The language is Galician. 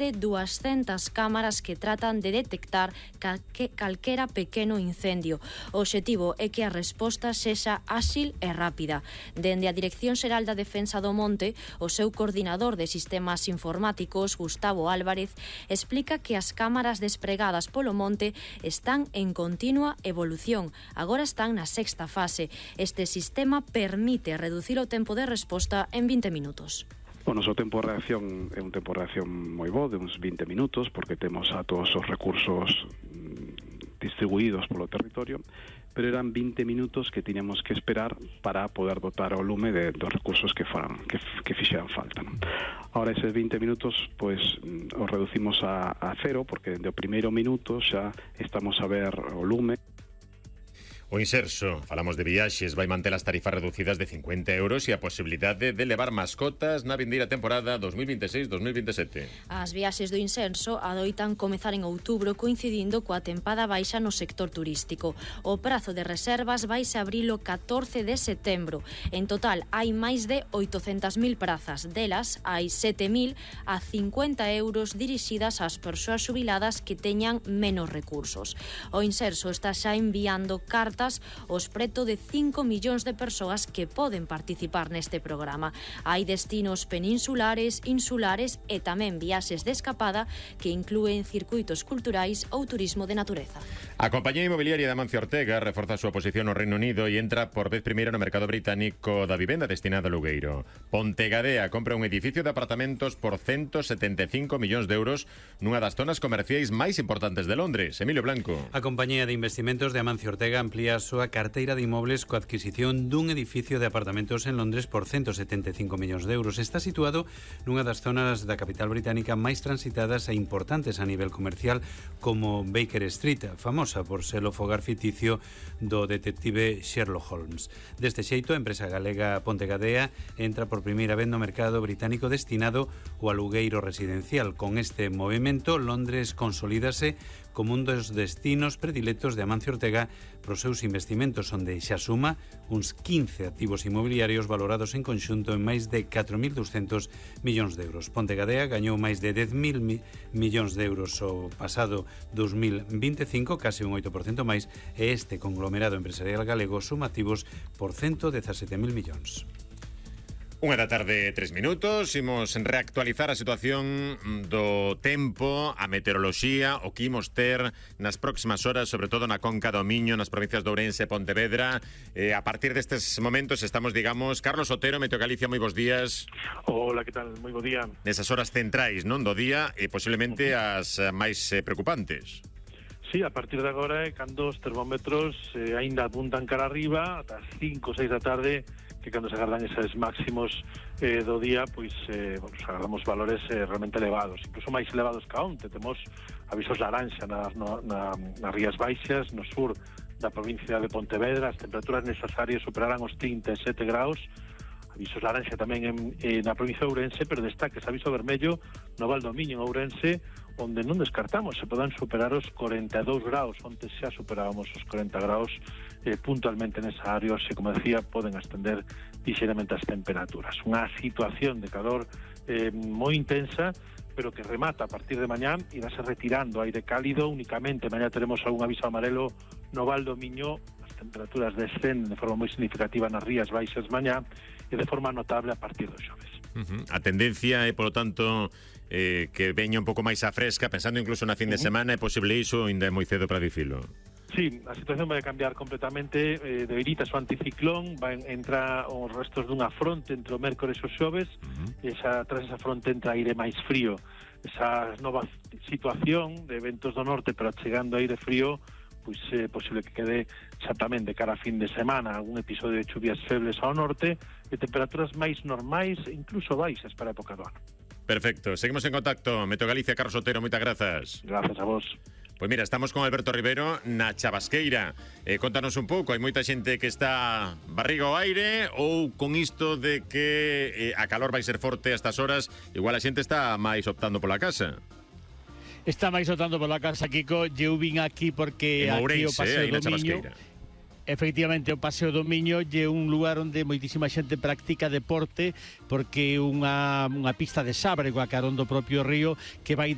de 200 cámaras que tratan de detectar calquera pequeno incendio. O obxectivo é que a resposta sexa áxil e rápida. Dende a Dirección Xeral da Defensa do Monte, o seu coordinador de sistemas informáticos, Gustavo Álvarez, explica que as cámaras despregadas polo monte están en continua evolución. Agora están na sexta fase. Este sistema permite reducir o tempo de resposta en 20 minutos. O noso tempo de reacción é un tempo de reacción moi bo, de uns 20 minutos, porque temos a todos os recursos distribuídos polo territorio, pero eran 20 minutos que tiñamos que esperar para poder dotar o lume dos recursos que fixeran falta, non? Ahora eses 20 minutos pois os reducimos a cero, porque dende o primeiro minuto xa estamos a ver o lume. O Inserso, falamos de viaxes, vai manter as tarifas reducidas de 50 euros e a posibilidade de levar mascotas na vindeira temporada 2026-2027. As viaxes do Inserso adoitan comezar en outubro coincidindo coa tempada baixa no sector turístico. O prazo de reservas vaise abrilo 14 de setembro. En total hai máis de 800.000 prazas. Delas hai 7.000 a 50 euros dirixidas ás persoas xubiladas que teñan menos recursos. O Inserso está xa enviando cartas aos preto de 5 millóns de persoas que poden participar neste programa. Hai destinos peninsulares, insulares e tamén viaxes de escapada que inclúen circuitos culturais ou turismo de natureza. A compañía inmobiliaria de Amancio Ortega reforza a súa posición no Reino Unido e entra por vez primeira no mercado británico da vivenda destinada a Lugueiro. Pontegadea compra un edificio de apartamentos por 175 millóns de euros nunha das zonas comerciais máis importantes de Londres. Emilio Blanco. A compañía de investimentos de Amancio Ortega amplía a súa carteira de inmobles coa adquisición dun edificio de apartamentos en Londres por 175 millóns de euros. Está situado nunha das zonas da capital británica máis transitadas e importantes a nivel comercial, como Baker Street, famosa por ser o fogar ficticio do detective Sherlock Holmes. Deste xeito, a empresa galega Pontegadea entra por primeira vez no mercado británico destinado ao alugueiro residencial. Con este movimento, Londres consolídase como un dos destinos predilectos de Amancio Ortega pros seus investimentos, onde xa suma uns 15 activos inmobiliarios valorados en conxunto en máis de 4.200 millóns de euros. Pontegadea gañou máis de 10.000 millóns de euros o pasado 2025, case un 8% máis, e este conglomerado empresarial galego suma activos por 117.000 millóns. 1:03 minutos, imos reactualizar a situación do tempo, a meteoroloxía, o que imos ter nas próximas horas, sobre todo na Conca do Miño, nas provincias de Ourense e Pontevedra. A partir destes momentos estamos, digamos, Carlos Otero, Meteo Galicia, moi bons días. Hola, que tal? Moi bo día. Nesas horas centrais, non, do día, e posiblemente as máis preocupantes. Sí, a partir de agora é cando os termómetros aínda apuntan cara arriba, ata as 5 ou 6 da tarde, que cando se agardan eses máximos do día, pois agardamos valores realmente elevados, incluso máis elevados que onte. Temos avisos laranxa nas Rías Baixas, no sur da provincia de Pontevedra. As temperaturas nesas áreas superarán os 37 graus. Avisos laranxa tamén na provincia de Ourense, pero destaca ese aviso vermello no Val do Miño, en Ourense, onde non descartamos se podan superar os 42 graus. Onte xa superábamos os 40 graus puntualmente nesa área, se, como decía, poden ascender lixeiramente as temperaturas. Unha situación de calor moi intensa, pero que remata a partir de mañá, irase retirando aire cálido. Únicamente mañá teremos algún aviso amarelo no Val do Miño. As temperaturas descenden de forma moi significativa nas Rías Baixas mañá e de forma notable a partir do xoves. A tendencia é, polo tanto, que veña un pouco máis a fresca, pensando incluso na fin de semana. É posible iso, ainda é moi cedo para dicilo? Sí, a situación vai cambiar completamente. Debilitas o anticiclón, vai entrar os restos dunha fronte entre o mércores e o xoves, e tras esa fronte entra aire máis frío. Esa nova situación de ventos do norte, pero chegando aire frío, pois é posible que quede xa tamén de cara a fin de semana algún episodio de chuvias febles ao norte e temperaturas máis normais e incluso baixas para a época do ano. Perfecto, seguimos en contacto. Meteo Galicia, Carlos Otero, moitas grazas. Gracias a vos. Pois mira, estamos con Alberto Rivero na Chabasqueira. Contanos un pouco, hai moita xente que está barriga ao aire, ou con isto de que a calor vai ser forte a estas horas, igual a xente está máis optando pola casa. Está máis optando pola casa, Kiko. Eu vin aquí porque en aquí Ourense, o Paseo do Miño. Efectivamente, o Paseo do Miño é un lugar onde moitísima xente practica deporte, porque é unha pista de sabre coa carón do propio río que vai